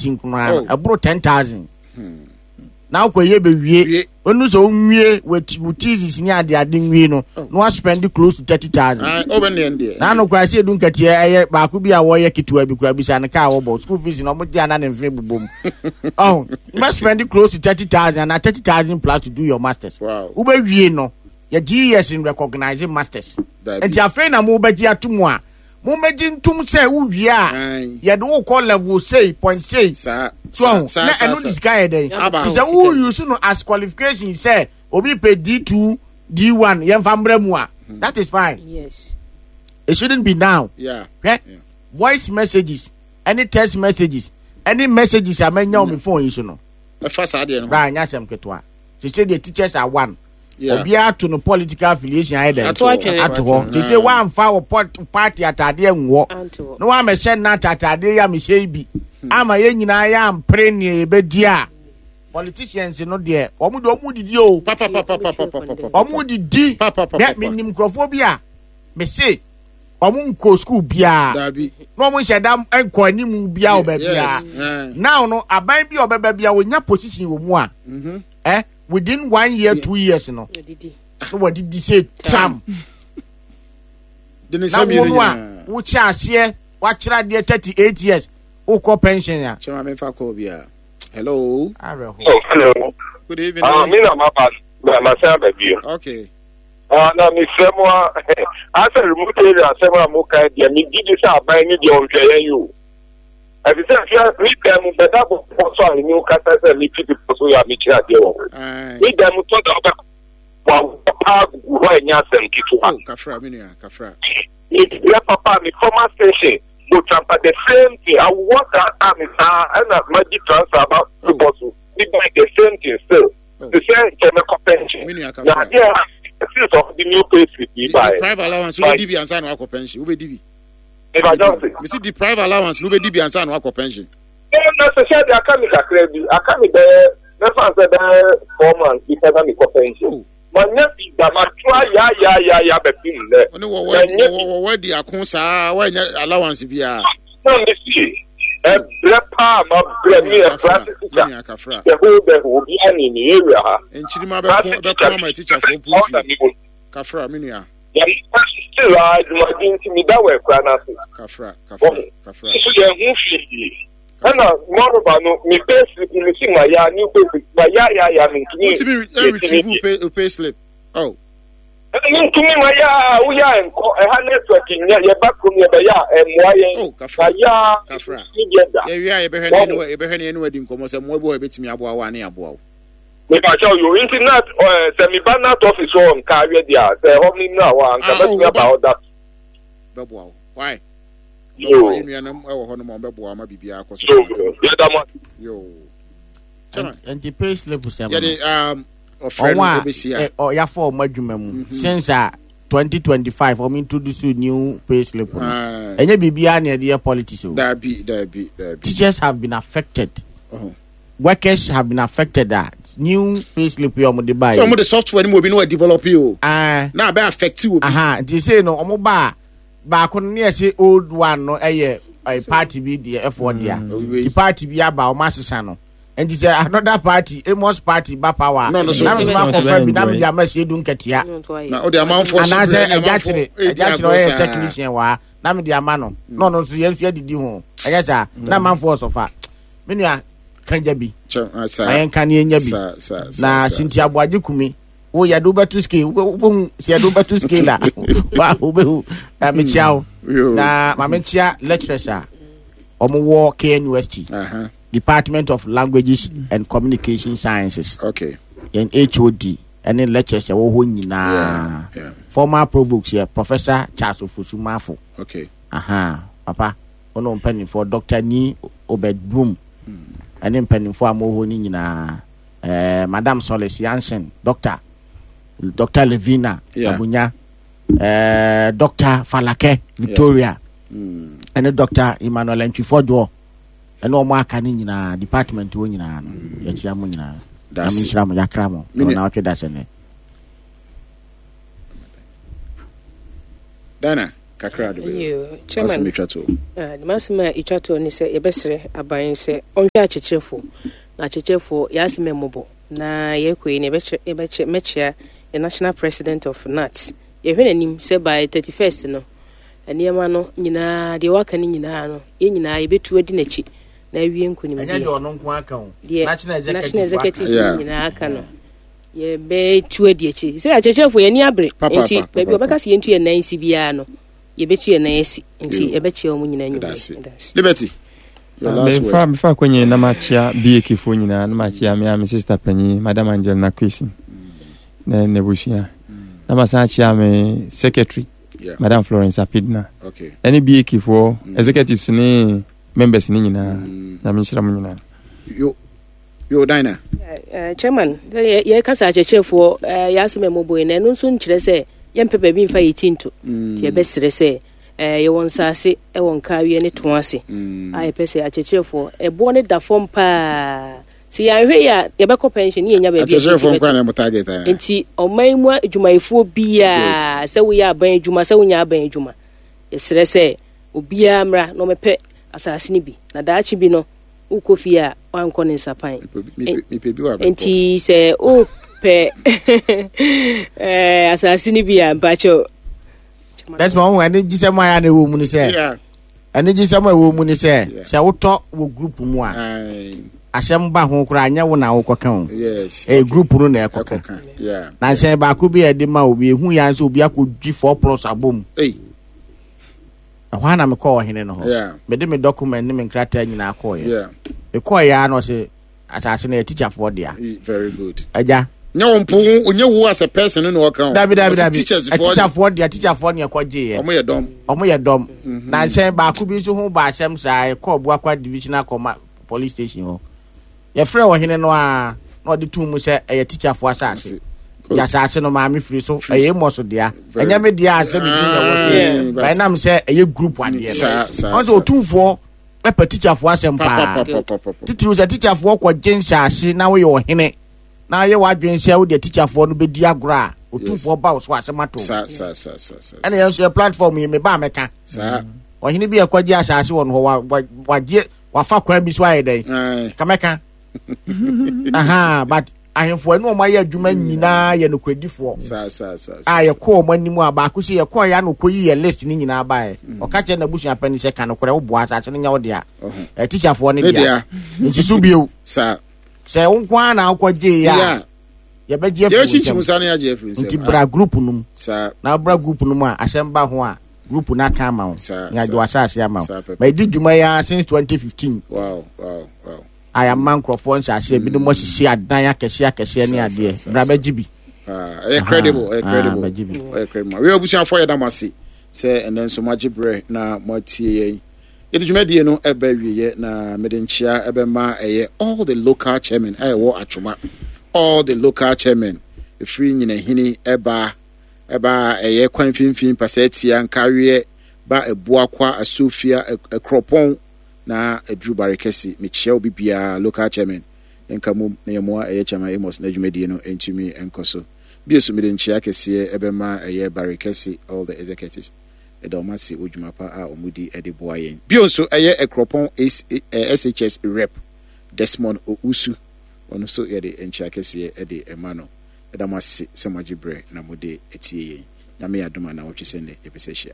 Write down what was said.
nkoraa no, ɛboro 10,000. Na wokɔyɛ bɛwie, onu sɛ wonwie wo thesis ne ade ade nwie no, na waspend close to 30,000. Na ano koraa sɛ edu nkateɛ ɛyɛ baako bi a wɔyɛ ketewa bi koraa bisa no kaa wɔbɔ school fees na wɔn gye ana ne mfe bobɔ mu. Ɔho, wobɛ spend close to 30,000 ana 30,000 plus to do your masters. Wobɛwie no, yɛ GES n recognize masters. Nti afei na mo bɛgye ato mu a, mo mɛgye ntom sɛ wowie a, yɛde wo kɔ level sei point sei. So ɔho, na ɛno de sika yɛ dɛn? Nti sɛ wo use no as qualification sɛ obi pɛ D2, D1 yɛmfa mmra mu a, that is fine. Yes. It shouldn't be now. Hwɛ, voice messages, ɛne text messages, ɛne messages a manya wɔ me phone yi so no. Ɛfa saa deɛ no ho. Bra, nyɛ asɛm ketewa. Te sɛ deɛ teachers are one. Obiara to no political affiliation ayɛ dɛn? Ato hɔ. Te sɛ woamfa wo party ataadeɛ nwɔ na woamɛhyɛ nat ataadeɛ yi a mehyɛ yi bi ama yɛn nyinaa yɛampere nea yɛbɛdi a, politicians no deɛ wɔn deɛ wɔn didi o. Wɔn didi. Hwɛ, menim nkurɔfoɔ bi a mese wɔn nkɔ sukuu biara na wɔn nhyɛ da nkɔ anim biara wɔ baabiara. Now no aban bi a ɔbɛba bi a wɔnya position wɔ mu a, eh, within 1 year 2 years no na wɔde di sɛ tam na wo no a wokyɛ aseɛ wakyerɛ adeɛ 38 years wokɔ pension a. Kyɛn maame nfa kɔɔ bi a. Hello. Awerɛho. Oh, hello. Good evening. Ah, me na ma ba ma sɛ aba bio. Okay. Ah, na mesrɛ mo a asɛ remote area asɛm a moka deɛ megye di sɛ aban ne deɛ ɔnhwɛ yɛn yi o. Ɛte sɛ fia me dan mu bɛda bɔkɔ so a mene wo kasa sɛ mefi bepɔ so yɛ a mekyerɛ adeɛ wɔ hɔ. Me dan mu tɔ da wobɛkɔ wawoɔ paa gugu hɔ a ɛnyɛ asɛm ketewa. Oh, kafra, me nua, kafra. Mebrɛ papa me former station Botrampa the same thing. Awoɔ saa a me saa ɛna magye transfer aba bepɔ so. Me dan the same thing still. Te sɛ nkyɛ mɛkɔ pension. Me nua, kafra. Na adeɛ a since ɔde new pay slip yi baeɛ. Deprive allowance wobɛdi bi ansa na wakɔ pension wobɛdi bi. Mesi deprive allowance no wobɛdi bi ansa na wakɔ pension. Na sɛ sɛ de aka me kakra bi, aka me bɛyɛ mɛfa sɛ bɛyɛ 4 months bi pɛ na mekɔ pension. Oh. Manya bi da matoa ya ya ya ya bɛpem nnɛ. Ɔne wɔwɔ adi ako saa wɔanya allowance biara. Na mesi ɛbrɛ paa ma brɛ me ɛbrɛ ase teacher. The whole the whole obi ani ne area ha. Nkyirima bɛko bɛko ama teacherfoɔ mpuntu. Kafra me nua. Na me still a adwumaden nti meda wɔ akura no ase. Kafra, kafra, kafra. Nso yɛn ho hwee. Ɛna moreover no me pay slip me si ma ya new pay slip ma ya ya ya me ntumi. Wotumi retrieve pay pay slip. Oh. Ntumi ma ya wo ya nkɔ ɛha network nyɛ yɛ ba kurom yɛ bɛ ya ɛmoa yɛn. Oh, kafra. Ma ya kafra. Ni deɛ da. Yɛ wia yɛ bɛhwɛ ne yɛ bɛhwɛ ne yɛ ne wadi nkɔmɔ sɛ mmoa bi wɔ yɛ bɛtumi aboa wo a ne aboa wo. Mepakyɛw yo, nti nat eh, sɛ meba nat office hɔ nka awɛ deɛ a, sɛ ɛhɔ me mmra hɔ a, nka mɛtumi aba hɔ da. Bɛboa wo. Why? Yo. Yɛn nuanom wɔ hɔ nom a wɔbɛboa ama biribiara akɔ so. Yo, yɛda mo ase. Yo. Nti pay slip sɛm no. Yɛde um, ɔfrɛ no ɛbɛsi a. Ɔyafa ɔmo adwuma mu mhm. since a 2025 ɔmo introduce new pay slip no. Ɛnyɛ biribiara na yɛde yɛ politics o. Dabi, dabi, dabi. Teachers have been affected. Uh -huh. Workers have been affected a new pay slip yi a wɔde ba yi. Sɛ wɔde software no mu obi na wɔdevelop yi o. Ah. Na abɛ affect obi. Aha nti sei no wɔn ba a baako no ne yɛsɛ old one no ɛyɛ ɛyɛ party bi deɛ ɛfoɔ dea. Ti party bi aba wɔn asesa no. Nti sɛ another party Amos party ba power. No, no, so na mi ma kɔfa bi na mi de ama si edu nketea. Na o de amanfoɔ so Anaasɛ ɛgya kyerɛ ɛgya kyerɛ ɔyɛ technician wɔ ha na mi de ama no. Na ɔno nso yɛn nso yɛdidi ho ɛnyɛ saa na amanfoɔ sɔfa. Me nua kanja bi ma yɛnka ne yɛnya bi na Cynthia Aboagye Kumi wo yɛde wobɛto scale wobɛhu sɛ yɛde wobɛto scale a wa wobɛhu na mekyia wo na ma menkyia lecturers a wɔwɔ KNUST Department of Languages and Communication Sciences okay. Yɛn HOD ɛne lecturers ɛwɔ hɔ nyinaa, former provost yɛ Professor Charles Ofosu Mafo. Okay. Aha, papa wo ne wo mpanimfoɔ Dɔkta Ni Obed Broom ɛne mpanimfoɔ a mowɔ hɔ no nyinaa, eh, Madam Solis Yansen, Dɔkta Dɔkta Levina yeah. Abunya, eh, Dɔkta Falake Victoria, yeah. Ɛne Dɔkta Emmanuel Ntwifodoɔ ɛne wɔn aka no nyinaa department wɔ nyinaa no yɛkyia mo nyinaa na menhyira mo yɛakra mo na ɔna da sɛ nɛ Dana. Kakra de bɛyɛ. Chairman, Asɛm etwa toɔ. Ah, m'asɛm a etwa toɔ ne sɛ yɛbɛsrɛ aban sɛ ɔnhwɛ akyerɛkyerɛfoɔ na akyerɛkyerɛfoɔ yɛasɛm mmɔbɔ na yɛkɔ yi na yɛbɛkyerɛ yɛbɛkyɛ mɛkyea yɛ national president of NAT yɛhwɛ n'anim sɛ by 31st no nneɛma no nyinaa deɛ waka no nyinaa no yɛn nyinaa yɛbɛtu adi n'akyi na awie nkonimdie. Ɛnyɛ deɛ ɔno nko aka o. Deɛ national executive national executive yeah. nyinaa aka no yɛbɛtu adi akyi sɛ akyerɛkyerɛfoɔ yɛn ani abere nti baabi ɔbɛka sɛ yɛntu yɛn nan si biara no yɛbɛtu yɛn nan asi nti yɛbɛkyia wɔn nyinaa nwumere. Liberty. Mefa mefa akɔnyɛ na makyia BAK foɔ nyinaa na makyia me a me sister panyin Madam Angelina Kwesi na n'abusua na masan akyia me secretary yeah. Madam Florence Apidna okay. ɛne BAK foɔ executives ne members ne nyinaa mm. Nyame nhyira mo nyinaa. Yo yo Dinah. Uh, chairman yɛka sɛ akyerɛkyerɛfoɔ uh, yɛasɛm ɛmmɔbɔ yi na ɛno nso nkyerɛ sɛ yɛmpɛ baabi mfa yɛ ti nto mm. nti yɛbɛserɛ sɛ uh, yɛwɔ nsase wɔ nkaawiɛ ne to ase mm. a yɛpɛ sɛ akyerɛkyerɛfoɔ ɛboɔ no da fam paa sɛ yɛanhwɛ yi a yɛbɛkɔ pension ne yɛnya baabi akyerɛkyerɛfoɔ nkwa na mo target ana nti ɔman mu adwumayɛfoɔ biara sɛ woyɛ aban adwuma sɛ wonya aban adwuma yɛsrɛ sɛ obiara mmra na ɔmɛpɛ asase no bi na daakye bi no wokɔ fie a wankɔ ne nsapan nti sɛ wopɛ eh, asase no bi a mpakyɛw that's why wɔn ani gye sɛ mo ayɛ na ɛwɔ mu ni sɛ Anigyesɛm a ɛwɔ mu ne sɛ, sɛ wotɔ wɔ group mu a, asɛm ba ho koraa nyɛ wo na wokɔka o. Ɛyɛ group no na ɛkɔka. Na nsɛn baako bi a ɛde ma obi, ehu ya nso obi akɔdwi four plus abom. Ɛhɔ ara na mekɔɔ ɔhene no hɔ. Mede me document ne me nkrataa nyinaa kɔɔeɛ. Mekɔɔeɛ ara na ɔse asase no yɛ tikyafoɔ dea. Very good. Agya. Nyɛ wo mpo nyɛ wo as a person no na ɔka o. Dabi dabi dabi. Teachers foɔ. Tikyafoɔ dea tikyafoɔ ne ɛkɔ gye yɛ. Ɔmo yɛ dɔm. Ɔmo yɛ dɔm. Mhm. Na nhyɛn baako bi nso ho ba asɛm saa ɛkɔ Buakwa divisional kɔma police station hɔ. Yɛfrɛ ɔhene no a na ɔde tum mu sɛ ɛyɛ tikyafoɔ asase. Yɛ asase no maame firi so ɛyɛ Amos dea. Ɛnyɛ me dea asɛ me din na ɛwɔ so. Bɛnam sɛ ɛyɛ group adeɛ no. Ɔn sɛ otumfoɔ pɛ tikyafoɔ asɛm paa titiriw sɛ tikyafoɔ kɔgye nhyɛase na woyɛ ɔhene na ayɛ w'adwene sɛ wode tikyafoɔ no bɛdi agorɔ a otumfoɔ ba wo so asɛm ato ɛna yɛn nso yɛ platform yi meba a mɛka ɔhene bi ɛkɔgye asase wɔ no hɔ wagye wafa kwan bi so ayɛ dɛn kamɛka aha but ahemfo ɛne wɔn ayɛ adwuma mm. nyinaa yɛ nokorɛdifoɔ a yɛkɔ wɔn anim a baako sɛ yɛkɔ yɛ ano kɔyi yɛ list ne nyinaa baeɛ mm. ɔka kyerɛ n'abusua panyin sɛ ka nokorɛ woboa asase no nyɛ wo dea tikyafoɔ ne dea nsi so bio sɛ wo nko ara na wokɔgyee a yɛbɛgye afiri wo nsam nti bra group no mu na bra group no mu a asɛm ba ho a group no aka ama wo na agye w'asase ama wo ma ɛdi dwuma yi ara since 2015 wow, wow, wow. a yɛama nkurɔfoɔ nhyɛaseɛ ebinom asisi adan akɛseɛ akɛseɛ ne adeɛ bra bɛgye bi ah, ɛyɛ credible ɛyɛ credible bɛgye bi ɛyɛ credible wei abusuafoɔ yɛda mo ase sɛ ɛnɛ nso moagye berɛ na moatie yɛn yɛde dwumadie no ɛbɛ wieɛ na mede nkyea ɛbɛma ɛyɛ all the local chairman a ɛwɔ atwoma all the local chairman ɛfiri nyinahini ɛba ɛba ɛyɛ kwan mfimfini pasɛtia nkaweɛ ba ɛboakwa asofia ɛkorɔpɔn na aduru bare kɛse mekyia obi biara local chairman yɛnka mom na yɛmmoa ɛyɛ chairman Amos n'adwumadie no ntumi nkɔ so bio so mede nkyia kɛseɛ ɛbɛma ɛyɛ bare kɛse all the executives ɛda wɔn ase wɔ dwuma pa a wɔn di de boa yɛn bio nso ɛyɛ Akuropɔn SHS rep Desmond Owusu ɔno nso yɛde nkyia kɛseɛ ɛde ɛma no ɛda mo ase sɛ moagye berɛ na mode atie yɛn Nyame yɛ adom a nawɔtwe sɛ nnɛ yɛbɛsɛ hyia.